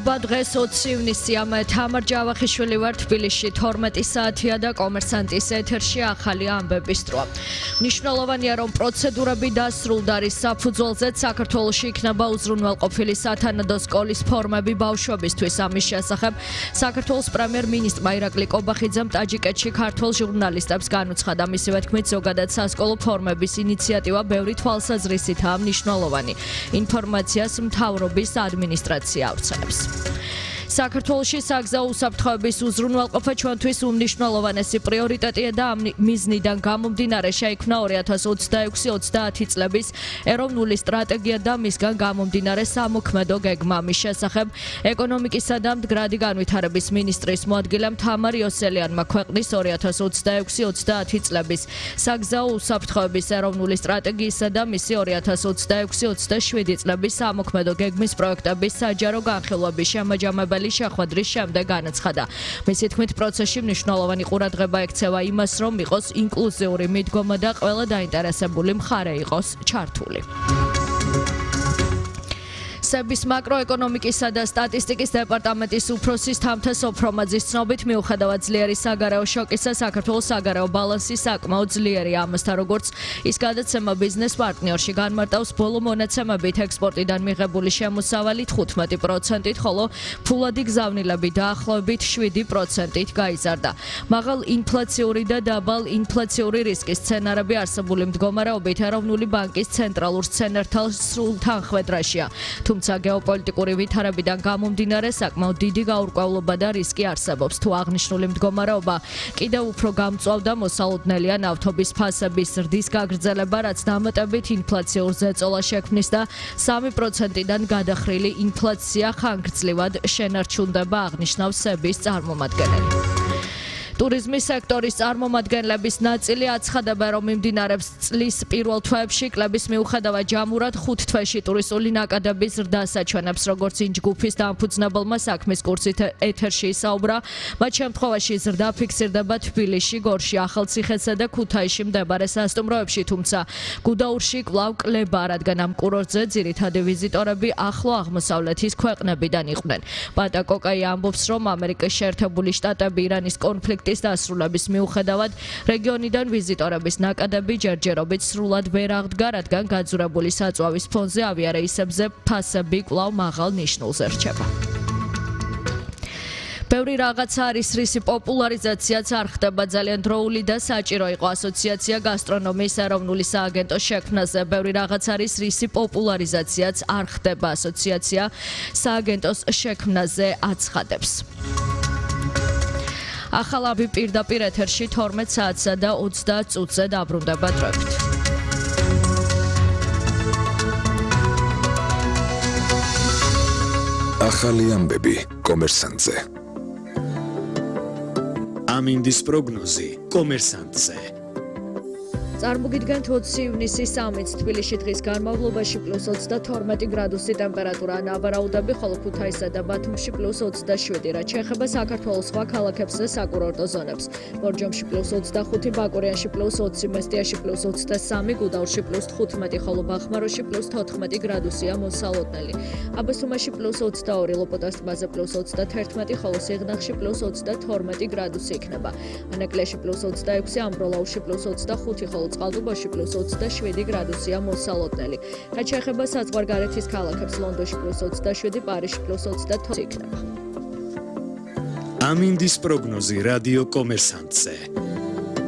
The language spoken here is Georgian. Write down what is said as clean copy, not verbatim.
დღეს 20 ივნისია, მე თამარ ჯავახიშვილი ვარ თბილისში 12 საათია და კომერსანტის ეთერში ახალი ამბების დროა. მნიშვნელოვანია, რომ პროცედურები დასრულდა, რის საფუძველზეც საქართველოში იქნება უზრუნველყოფილი სათანადო სკოლის ფორმები ბავშვებისთვის. ამის შესახებ საქართველოს პრემიერ-მინისტრმა ირაკლი კობახიძემ ტაჯიკეთში ქართველ ჟურნალისტებს განუცხადა. მისივე თქმით, ზოგადად სასკოლო ფორმების ინიციატივა ბევრი თვალსაზრისითაა მნიშვნელოვანი. ინფორმაციას მთავრობის ადმინისტრაცია ავრცელებს. საქართველოში საგზაო უსაფრთხოების უზრუნველყოფა ჩვენთვის უმნიშვნელოვანესი პრიორიტეტია და ამ მიზნიდან გამომდინარე შეიქმნა 2026-30 წლების ეროვნული სტრატეგია და მისგან გამომდინარე სამოქმედო გეგმა. მის შესახებ ეკონომიკისა და მდგრადი განვითარების მინისტრის მოადგილემ თამარ იოსელიანმა ქვეყნის 2026-30 წლების საგზაო უსაფრთხოების ეროვნული სტრატეგიისა და მისი 2026-27 წლების სამოქმედო გეგმის პროექტების საჯარო განხილვების შემაჯამებელი შეხვედრის შემდეგ განაცხადა. მისი თქმით, პროცესში მნიშვნელოვანი ყურადღება ექცევა იმას, რომ იყოს ინკლუზიური მიდგომა და ყველა დაინტერესებული მხარე იყოს ჩართული. სების მაკროეკონომიკისა და სტატისტიკის დეპარტამენტის უფროსის თამთა სოფრომაძის ცნობით, მიუხედავად ძლიერი საგარეო შოკისა, საქართველოს საგარეო ბალანსი საკმაოდ ძლიერია. ამასთან, როგორც ის გადაცემა ბიზნეს პარტნიორში განმარტავს, ბოლო მონაცემებით ექსპორტიდან მიღებული შემოსავალი 15%-ით, ხოლო ფულადი გზავნილები დაახლოებით 7%-ით გაიზარდა. მაღალ ინფლაციური და დაბალ ინფლაციური რისკის სცენარები არსებული მდგომარეობით ეროვნული ბანკის ცენტრალურ სცენართან სრულ თანხვედრაშია. თუმცა გეოპოლიტიკური ვითარებიდან გამომდინარე საკმაოდ დიდი გაურკვევლობა და რისკი არსებობს. თუ აღნიშნული მდგომარეობა კიდევ უფრო გამწვავდა, მოსალოდნელია ნავთობის ფასების ზრდის გაგრძელება, რაც დამატებით ინფლაციურ ზეწოლას შექმნის და 3%-დან გადახრილი ინფლაცია ხანგრძლივად შენარჩუნდება, აღნიშნავს სების წარმომადგენელი. ტურიზმის სექტორის წარმომადგენლების ნაწილი აცხადებენ, რომ მიმდინარეობს წლის პირველ თვეებში კლების მიუხედავად ჯამურად 5 თვეში ტურისტული ნაკადების ზრდა საჩვენებს, როგორც იმ ჯგუფის დამფუძნებელმა საქმის კურსით ეთერში ისაუბრა. მათ შემთხვევაში ზრდა ფიქსირდება თბილისში, გორში, ახალციხესა და ქუთაისში მდებარე სასტუმროებში, თუმცა გუდაურში კვლავ კლება, რადგან ამ კურორტზე ძირითადი ვიზიტორები ახლო აღმოსავლეთის ქვეყნებიდან იყვნენ. პატა კოკაი ამბობს, რომ ამერიკის შეერთებული შტატები ირანის კონფლიქტის დასრულების მიუხედავად რეგიონიდან ვიზიტორების ნაკადები ჯერჯერობით სრულად ვერ აღდგა, რადგან გაძურებული საწვავის ფონზე ავიარეისებზე ფასები კვლავ მაღალ ნიშნულზე რჩება. ბევრი რაღაცა არის, რისი პოპულარიზაციაც არ ხდება ძალიან დროული და საჭირო იყო ასოციაცია გასტრონომიის ეროვნული სააგენტოს შექმნაზე. ბევრი რაღაც არის, რისი პოპულარიზაციაც არ ხდება ასოციაცია სააგენტოს შექმნაზე აცხადებს. ახალავი პირდაპირ ეთერში 12 საათსა და 30 წუთზე დაბრუნდება დროებით. ახალი ამბები კომერსანტზე. ამინდის პროგნოზი კომერსანტზე. წარმოგიდგენთ 20 ივნისის სამიც თბილისში დღის განმავლობაში +22 გრადუსი ტემპერატურა, ნავარაუდები, ხოლო ქუთაისსა და ბათუმში +27, რაც შეეხება საქართველოს სხვა ქალაქებს და საკურორტო ზონებს. ბორჯომში +25, ბაკურიანში +20, მესტიაში +23, გუდაურში +15, ხოლო ბახმაროში +14 გრადუსია მოსალოდნელი. აბასთუმანში +22, ლოპოტას ტბაზე +21, ხოლო სიღნაღში +22 გრადუსი იქნება. ანაკლიაში +26, ამბროლაუში +25, ხოლო წყალტუბოში +27 გრადუსია მოსალოდნელი. რაც შეეხება საზღვარგარეთის ქალაქებს, ლონდონში +27, პარიზში +28 იქნება. ამინდის პროგნოზი რადიო კომერსანტზე.